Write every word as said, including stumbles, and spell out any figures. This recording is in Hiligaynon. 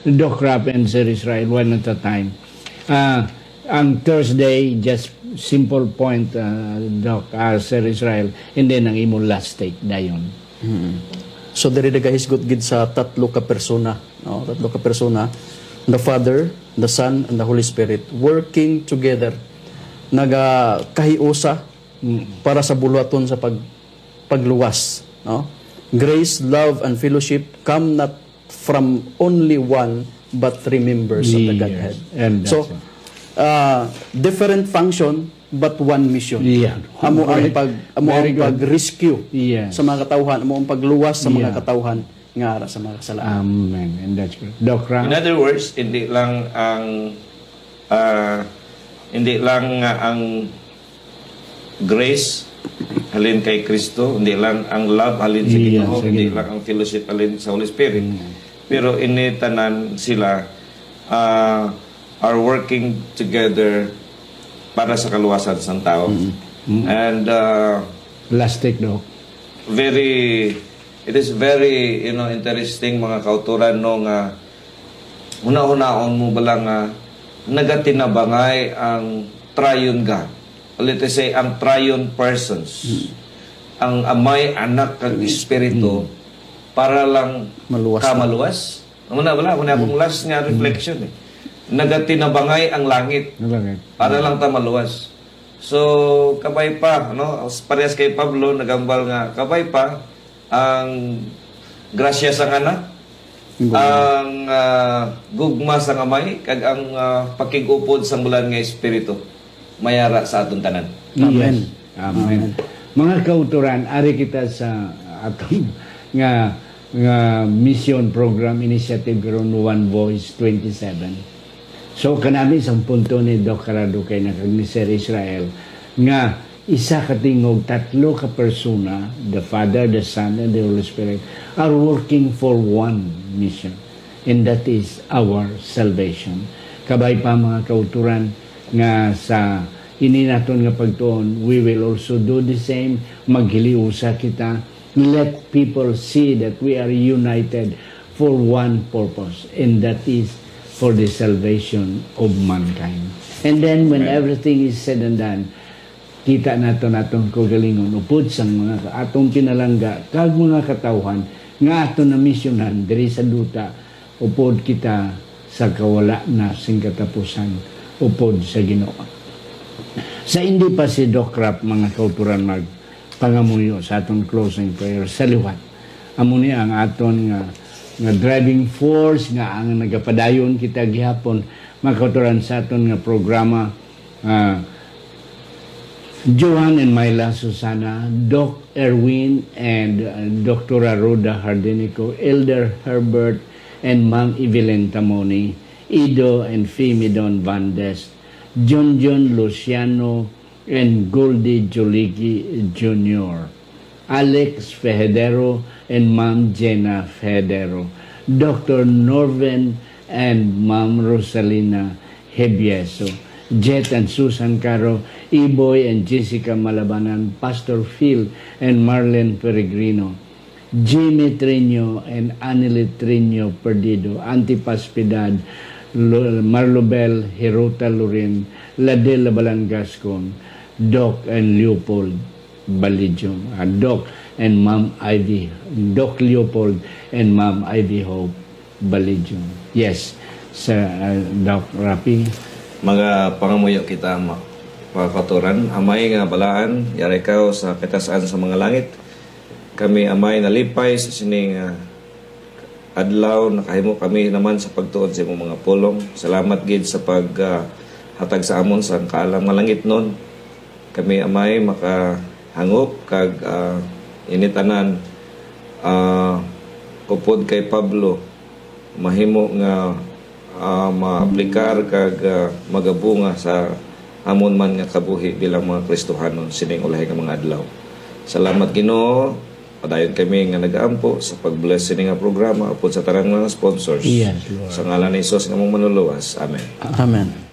Doc Rap and Sir Israel, one at a time. Ah, ang Thursday, just simple point, ah, Doc, ah, Sir Israel, and then ang imo last take dayon. So diri nagahisgot gid sa tatlo ka persona, no? Tatlo ka persona, the Father, the Son, and the Holy Spirit working together. Nagakahiusa para sa buluhaton sa pag pagluwas, no? Grace, love, and fellowship come not from only one but three members of the Yes. Godhead. And that's So, it. Uh, different function but one mission. Yeah. Amo ang Right. pag amo Very ang good. pag-rescue Yes. sa mga katawhan, amo ang pagluwas sa mga Yeah. katawhan nga ara sa mga kasalanan. Amen. And that's good. Doc Rap? In other words, hindi lang ang ah, hindi lang nga ang grace halin kay Kristo, hindi lang ang love halin sa Yes, Ginoo, hindi amen. lang ang fellowship halin sa Holy Spirit. Pero ini tanan sila ah, are working together para sa kaluwasan sang tao. And ah, Last take, Doc. very it is very, you know, interesting, mga kauturan, no, nga hunahunaon mo bala nga nagatinabangay ang triune God, let us say, ang triune persons, ang Amay, Anak, kag Espiritu, para lang Maluwas ka na. Maluwas. Amo na bala, amo na akong last nga reflection eh. Nagatinabangay ang langit Nalangit. para lang ta maluwas. So, kabay pa, no? Parehas kay Pablo, nagambal nga, kabay pa ang grasya sang Anak, Gugma. ang ah, gugma sang Amay, kag ang ah, pakig-upod sang Bulan nga Espiritu mayara sa aton tanan. Amen. Yes. Amen. Mga kauturan, ari kita sa atong nga nga mission program initiative karon, One Voice twenty-seven. So kanami sang punto ni Doc Carado kay nakag ni Sir Israel nga isa ka tingog, tatlo ka persona, the Father, the Son, and the Holy Spirit, are working for one mission, and that is our salvation. Kabay pa, mga kauturan, nga sa ini naton nga pagtuon, we will also do the same. Maghiliusa kita. Let people see that we are united for one purpose, and that is for the salvation of mankind. And then, when everything is said and done, kita naton atong kaugalingon upod sang mga atong pinalangga kag mga katawhan nga aton namisyonan diri sa duta, upod kita sa kawala na sing katapusan upod sa Ginoo. Sa hindi pa si Doc Rap, mga kauturan, magpangamuyo sa aton closing prayer, sa liwat, amo ni ang aton nga, nga driving force nga ang nagapadayon kita gihapon, mga kauturan, sa aton nga programa, ah, Johan and Myla Susana, Doc Erwin and uh, Doctora Rhoda Hardinico, Elder Herbert and Ma'am Evelyn Tamoni, Ido and Fimidon Vandes, John John Luciano and Goldie Juligi Junior, Alex Fehedero and Ma'am Jenna Fehedero, Doctor Norven and Ma'am Rosalina Hebieso, Jet and Susan Caro, Iboy and Jessica Malabanan, Pastor Phil and Marlene Peregrino, Jimmy Triño and Annelie Triño Perdido, Antipas Piedad, Lo- Marlobel Hirota Lorin, Ladel Labalan Gascon, Doc and Leopold Balidyong, ah, Doc and Ma'am Ivy, Doc Leopold and Ma'am Ivy Hope Balidyong. Yes, sa ah, Doc Rapi. Mga pangamuyo kita, ma- mga kauturan. Amay nga balaan, yari ka sa katasan sa mga langit. Kami, Amay, nalipay sa sining ah, adlaw, nakahimo kami naman sa pagtuon sa imong mga pulong. Salamat gid sa pag ah, hatag sa amon sa kaalam nga langitnon. Kami, Amay, makahangop kag ah, ini tanan ah, upod kay Pablo, mahimo nga ah, maaplikar kag ah, magabunga sa amon man nga kabuhi bilang mga Kristohanon sining ulahi nga mga adlaw. Salamat, Ginoo. Padayon kami nga nagaampo sa pag-bless sini nga programa upod sa tanan nga sponsors. Yes, Lord. Sa ngalan ni Jesus nga among Manluluwas. Amen. Amen.